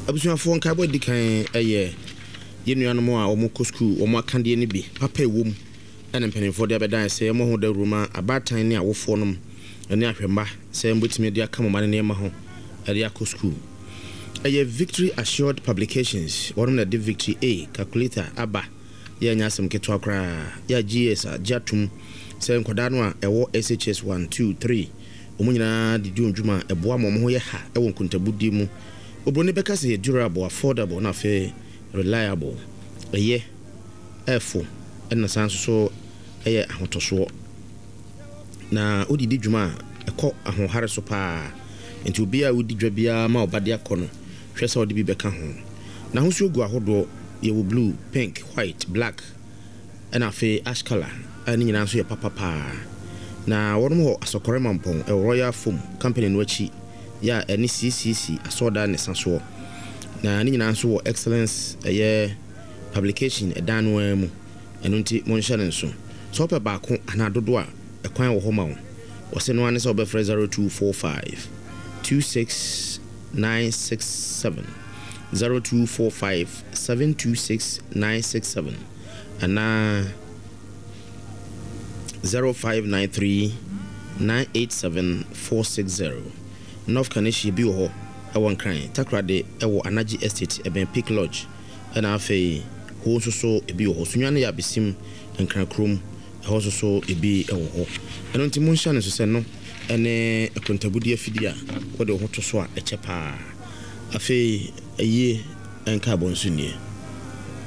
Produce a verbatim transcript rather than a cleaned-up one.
Abusuafoɔ, nkaebɔ di kan ɛyɛ yɛn nuanom a wɔn kɔ sukuu, wɔn akadeɛ no bi papa ɛwɔ mu, ɛna mpanimfoɔ de abɛdan sɛ wɔn ho dawuro ma abaatan ne awofoɔ nom ne ahwɛmba sɛ wɔbɛtumi de aka mo ma ne nneɛma ho ɛde akɔ sukuu. Ɛyɛ Victory Assured Publications, wɔn na de Victory A calculator aba. Yɛnyɛ asɛm ketewa koraa. Yɛ G E S agye atom sɛ nkwadaa no a ɛwɔ S H S one, two, three, wɔn nyinaa de di wɔn dwuma a ɛboa ma wɔn ho yɛ ha ɛwɔ nkontabudie mu. Oburoni bɛka sɛ yɛ durable, affordable na afei reliable. Ɛyɛ ɛfo, ɛna san nso so ɛyɛ ahotɔsoɔ na wode di dwuma a ɛkɔ ahoɔhare so paa. Nti obiara a wodi dwa biara ma ɔba de akɔ no, hwɛ sɛ ɔde bi bɛka ho. N'ahosuo gu ahodoɔ. Yɛwɔ blue, pink, white, black, ɛna afei ash colour a ne nyinaa nso yɛ papapaa. Na wɔnom wɔ Asɔkɔre Mampɔn, ɛwɔ Royal Foam Company no akyi, yɛ a ɛne C C C asɔɔdan ne sa soɔ. Na ne nyinaa nso wɔ Excellence ɛyɛ Publication ɛdan no ara mu. Ɛno nti monhyɛ ne nso sɛ wopɛ baako anaa dodoɔ a, ɛkwan wɔ hɔ ma wo. Wɔsɛ no ara ne sɛ wobɛfrɛ zero two four five two six nine six seven, zero two four five seven two six nine six seven, anaa zero five nine three nine eight seven four six zero. North Kaneshie bi wɔ hɔ, ɛwɔ Nkran, Takoradi ɛwɔ Anagye Estate, ɛbɛn Peak Lodge, ɛna afei hɔ nso so ebi wɔ hɔ. Sunyani yɛ Abesim Nkran kurom, ɛhɔ nso so ebi wɔ hɔ. Ɛno nti monhyɛ no nso sɛ no ɛne akontabudi afidie a wɔde wo ho to so a ɛkyɛ paa. Afei ayie ɛnka abɔ nso nie.